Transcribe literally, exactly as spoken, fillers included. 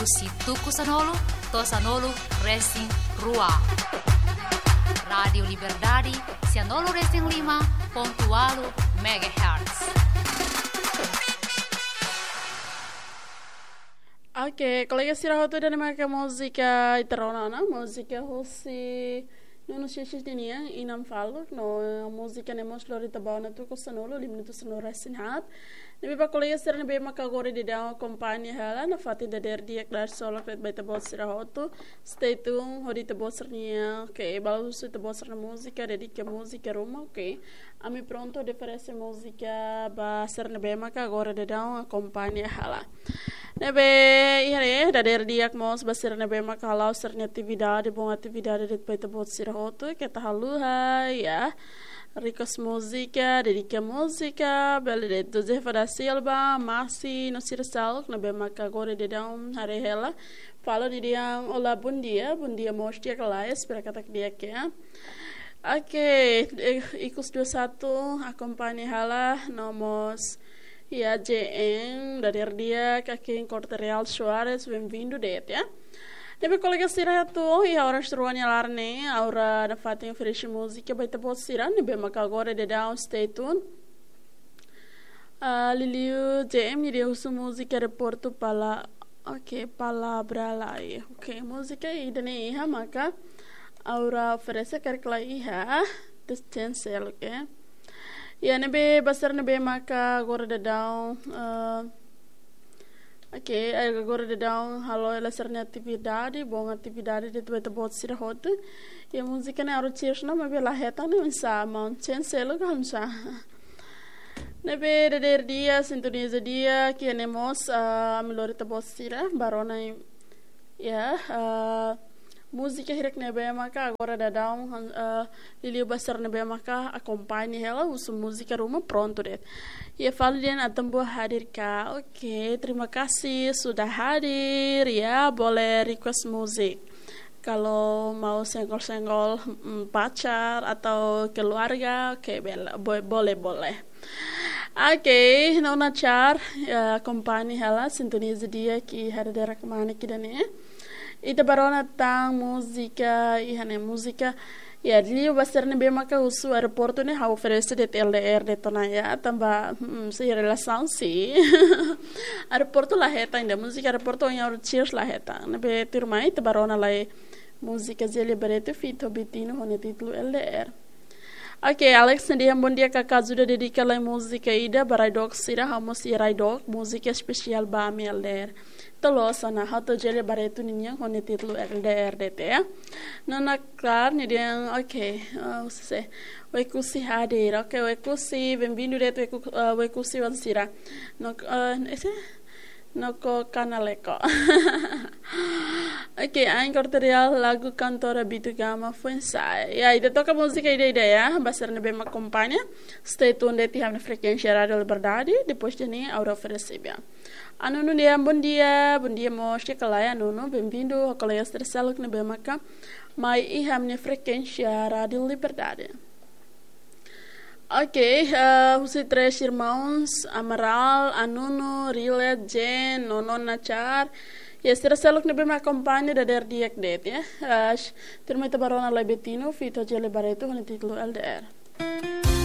Husi tuku sanulu to'o sanulu resin rua. Rádiu Liberdade, sanulu resin lima pontu ualu megahertz. Oke, kolega sira hotu, ida-ne'e maka múzika ita rona ona, múzika husi Nuno Xixi nian, Inan Faluk, no múzika ne'e mós lori ita ba ona tuku sanulu, lima minutu sanulu resin haat. Ne'ebé ba kolega sira ne'ebé maka agora daudaun akompaña hela, nafatin dadeer di'ak dala solok ba ita-boot sira hotu. Stay tuned, hodi ita-boot sira-nia, oke, balu husu ita-boot sira-nia múzika, dedika múzika ruma, oke. Ami prontu oferese múzika ba sira ne'ebé maka agora daudaun akompaña hela. Ne'ebé, iha ne'e, dadeer di'ak mós ba sira ne'ebé maka hala'o sira-nia atividade, bom atividade de'it ba ita-boot sira hotu, keta haluha, ya. Request múzika, dedika múzika, bele de'it Josefa da Silva, Masi, no sira seluk ne'ebé maka agora daudaun haree hela. Fali dehan olá, bom dia, bom dia mós di'ak ka lae, espera katak di'ak, ya. Oke, eh, ikus dua satu, akompaña hela, no mós, ya, J N, dadeer di'ak, Kakin Corte Real Soares, bem-vindu de'it, ya. Ne'ebé kolega sira hotu, iha oras rua nia laran ne'e, agora nafatin oferese múzika ba ita-boot sira ne'ebé maka agora daudaun, stay tuned. Ah, liuliu J M nia husu múzika Aeroportu Pala, oke, Palavra Lae. Oke, múzika ida-ne'e iha maka agora oferese karik la iha, tes cancel, oke. Ya, ne'ebé ba sira ne'ebé maka agora daudaun, eh, oke, agora daudaun halo hela sira-nia atividade, bom atividade de'it ba ita-boot sira hotu. Ya, múzika ne'e ha'u cheers ona, maibé la hetan ne'e oinsá, maun, cancel ka oinsá. Ne'ebé dadeer di'ak, sintoniza di'ak, iha ne'e mós, ah, ami lori ita-boot sira ba rona, ya, ah, múzika hirak ne'ebé maka agora daudaun, ah, liuliu ba sira ne'ebé maka akompaña hela, husu múzika ruma, prontu de'it. Ya, fali dehan Atambu hadir ka? Oke, terima kasih sudah hadir, ya, boleh request musik. Kalau mau senggol-senggol, mm, pacar atau keluarga, oke, bel-, bo-, boleh, boleh. Oke, Nona Char, ya, akompaña hela, sintoniza di'ak iha dadeer-dadeer kmanek ida-ne'e. Ita ba rona tan múzika, iha ne'e múzika. Ya, liuliu ba sira ne'ebé maka husu Aeroportu ne'e, ha'u oferese de'it L D R de'it ona, ya, tanba, hmm, sei relasaun, sih. Aeroportu la hetan ida, múzika Aeroportu ohin ha'u cheers la hetan. Ne'ebé tuirmai, ita ba rona lai múzika Zélia Barreto feat Betino ho nia títulu L D R. Oke, Alex nia dehan bom dia kaká, ajuda dedika lai múzika ida ba rai-dook sira, ha'u mós iha rai-dook, múzika espesiál ba ami L D R. Tolo sana, ha'u tau Zélia Barreto ninian ho nia títulu L D R de'it, ya. Nona Klar nia dehan, oke, oh, se. Wekusi hadir, oke, Wekusi, bem-vindu de'it Weku-, eh, Wekusi wan sira. No, eh, ese? Noko kanaleko. Oke, Ain Corte Real, lagu kantora Bitu Gama foin-sa'e. Ya, ita toka múzika ida-ida, ya, ba sira ne'ebé mak akompaña. Stay tuned de'it iha ami-nia frekuénsia Rádiu Liberdade, depois de ne'e ha'u oferese ba. Anunu dehan bom dia, bom dia mós, di'ak ka lae Anunu, bem-vindu, ho kolega sira seluk ne'ebé maka mai iha ami-nia frekuénsia Rádiu Liberdade. Oke, eh, husi Três Irmãos, Amaral, Anunu, Rilet, Jen, Nonon Nachar. Ya, sira seluk ne'ebé mak akompaña dadeer di'ak de'it, ya. Eh, sh-, tuirmai ita ba rona lai Betino feat Zélia Barreto ho nia títulu L D R.